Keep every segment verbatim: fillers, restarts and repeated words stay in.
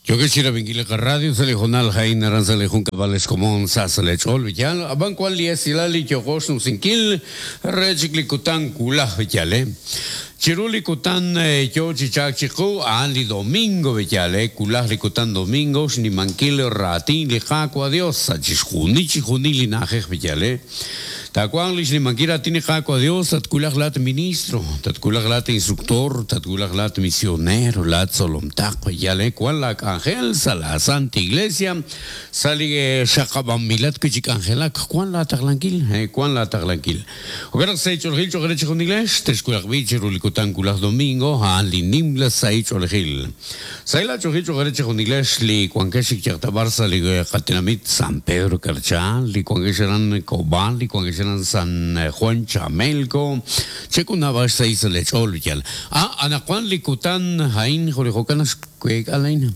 Yokex chirab'inkil li qaradio sa' li hoonal a'in aran sa' li junkab'al xkomon sa' sa' lech'ool b'iyal ab'an wan li esilal li yo'qo xnumsinkil re chik li kutan wulaj b'iyal eh chiru li kutan yo chi chaak chiqu a'an li domingo b'iyal eh wulaj li kutan domingo xnimankil raatin li Qaawa' Dios sa' chixjunil chixjunil li na'ajej b'iyal eh Takuan li xnimankil raatin li Qaawa' Dios tatwulaj laat ministro tatwulaj laat instructor tatwulaj laat misionero laat tzolomtaq b'iyal eh wan la k'anjel sa' la Santa Iglesia sa' li xaqab'anmilat wi' chi k'anjelak wan la taqlankil eh wan la taqlankil jo'kan naq sa' ich'oolejil cho'q re chixjunilex texwulaq b'i chiru li kutan wulaj domingo a'an li nimla sa' ich'oolejil sa' la ch'oolejil cho'q re chixjunilex li wankex xikchaqtab'ar sa' li qatinamit San Pedro Carchá li wankex aran Cobán li wankex aran San Juan Chamelco chekunab'ax sa' sa' lech'ool yal ah anaqwan li kutan a'in jo' li jo'kan xkueek alain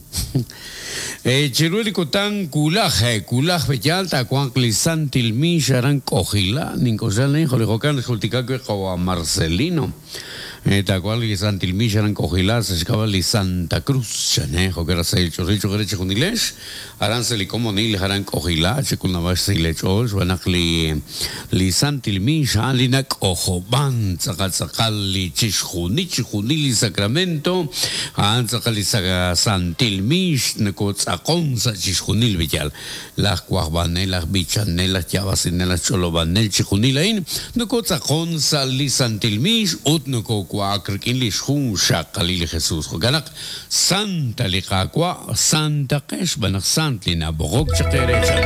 eh chiru li kutan wulaj wulaj b'eyal taawanq li Santil Mix aran K'ojila nink'oxla jo' li jo'kan xjultika wi' qawa Marcelino tawanq li Santil Mix aran K'ojila sa' xk'ab'a' li Santa Cruz chan eh jo'kan sa' ch'oolejil cho'q re chixjunilex aran sa' li komonil aran K'ojila chekunab'ax sa' lech'ool xb'aan naq li li Santil Mix a'an li nak'ojob'an tz'aqal tz'aqal li chixjunil chixjunil li sacramento a'an tz'aqal li Santil Mix nakotz'aqon sa' chixjunil b'iyal laj wajb'anel laj b'ichanel laj yab'asinel laj ch'olob'anel chixjunil a'in nakotz'aqon sa' li Santil Mix ut nakowaak rik'in li xjun xaqalil li Jesus jo'kan naq Santa li Qaawa' Santa qex b'aan naq sant li nab'oqok chaq eere chan.